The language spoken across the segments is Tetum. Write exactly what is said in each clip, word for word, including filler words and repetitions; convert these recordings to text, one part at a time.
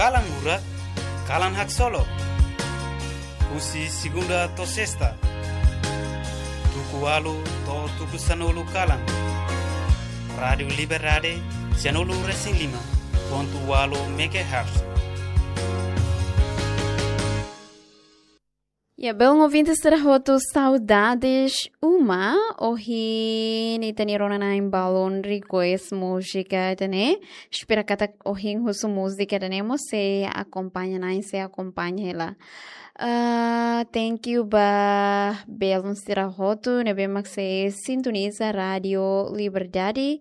Kalan Murak, Kalan Haksolok. Husi segunda to'o sesta, tuku ualu to'o tuku sanulu kalan. Rádiu Liberdade, sanulu resin lima pontu ualu megahertz. Ya, belun ouvinte sira hotu, saudades uma. Ohin ita-nia rona-na'in balun request múzika ida-ne'e. Espera katak ohin husu múzika ida-ne'e mós sei akompaña, na'in sei akompaña hela. Ah, thank you ba belun sira hotu ne'ebé mak sei sintoniza Rádiu Liberdade.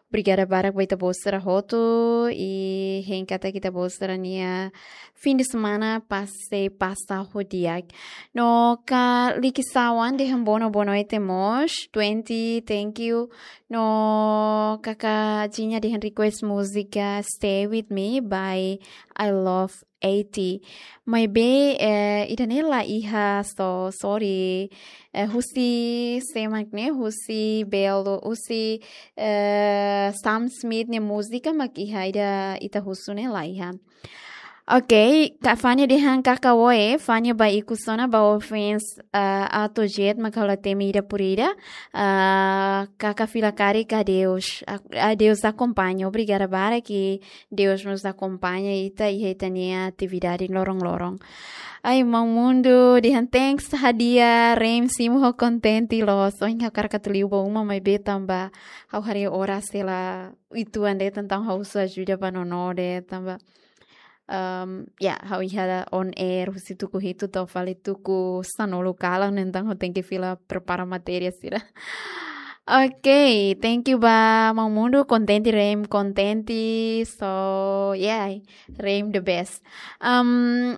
Obrigada barak ba ita-boot sira hotu, i hein katak ita-boot sira-nia fim de semana pas sei pasa ho di'ak. No kaka Liki Sawan dehan boa no-, boa noite mós. Twenty, thank you. No kaka Jinha dehan request múzika Stay With Me by I Love eighty. Maibé, eh, ida-ne'e la iha, so sorry. Eh, husi sé mak ne'e, husi belun, husi, eh, Sam Smith nia múzika mak iha, ida ita husu ne'e la iha. Ok, kaka Fania dehan kaka oe, Fania ba ikus ona ba ofens, eh, Auto Jet mak ha'u la temi ida por ida. Eh, kaka fila karik, adeus. A-, adeus akompaña. Obrigada barak, i Deus mós akompaña ita iha ita-nia atividade loron-loron. Ai, Maun Mundu dehan thanks hadi'a, Reim simu ho kontente loos. Ohin ha'u hakarak atu liu ba uma maibé tanba ha'u haree oras sei la uitoan de'it, entaun ha'u husu ajuda ba nono de'it tanba, um, ya, ha'u iha on air husi tuku hitu to'o fali tuku sanulu kalan, entaun ha'u tenke fila prepara matéria sira. Ok, thank you ba Maun Mundu, kontente Reim, kontente. So, yeah, Reim the best. Um,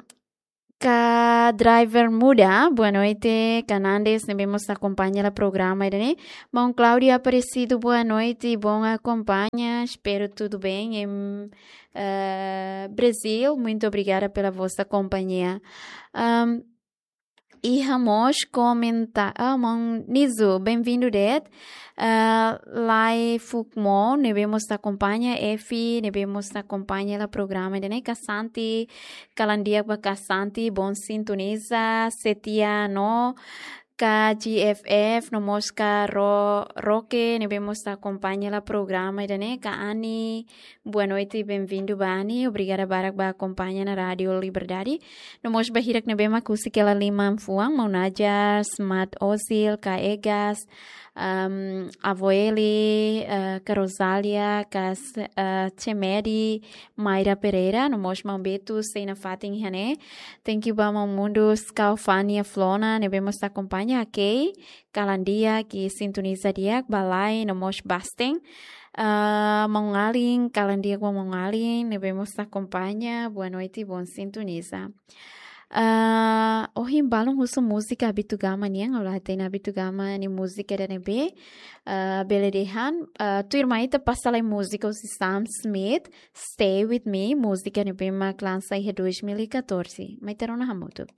kaka Driver Muda, boa noite. Kaka Nandes, ne'ebé mós akompaña hela programa ida-ne'e. Maun Cláudio Aparecido, boa noite, bom acompanha. Espero tudo bem em, eh, Brasil. Muito obrigada pela vossa companhia. Um, iha mós komenta-, ah, Maun Nizu, bem-vindo de'it. Ah, Lai Fukmo, ne'ebé mós akompaña, Efi, ne'ebé mós akompaña hela programa ida-ne'e, kaka Santi, kalan di'ak ba kaka Santi, bom sintoniza, Setia no, kaka G F F, no mós kaka Ro-, Roque, ne'ebé mós akompaña hela programa ida-ne'e, kaka Ani, boa noite, bem-vindo ba Ani, obrigada barak ba akompaña ona Rádiu Liberdade. No mós ba hirak ne'ebé mak husik hela liman fuan, Maun Najar, Smat Ozil, kaka Egas, um, Avó Eli, eh, kaka Rosália, kaka S-, eh, Chemedi, Mayra Pereira, no mós Maun Betu, sei nafatin iha ne'e. Thank you ba Maun Mundu, kaka Fania Flona, ne'ebé mós akompaña, ok. Kalan di'ak, i sintoniza di'ak, ba Lai, no mós Basten. Ah, Maun Alin, kalan di'ak ba Maun Alin, ne'ebé mós akompaña, boa noite, bom sintoniza. Ah, ohin balun husu múzika Abitugama nian, ha'u la hatene Abitugama nia múzika ida ne'ebé. Ah, bele dehan, ah, tuirmai ita pasa lai múzika husi Sam Smith, Stay With Me, múzika ne'ebé mak lansa iha dois mil e catorze. Mai ita rona hamutuk.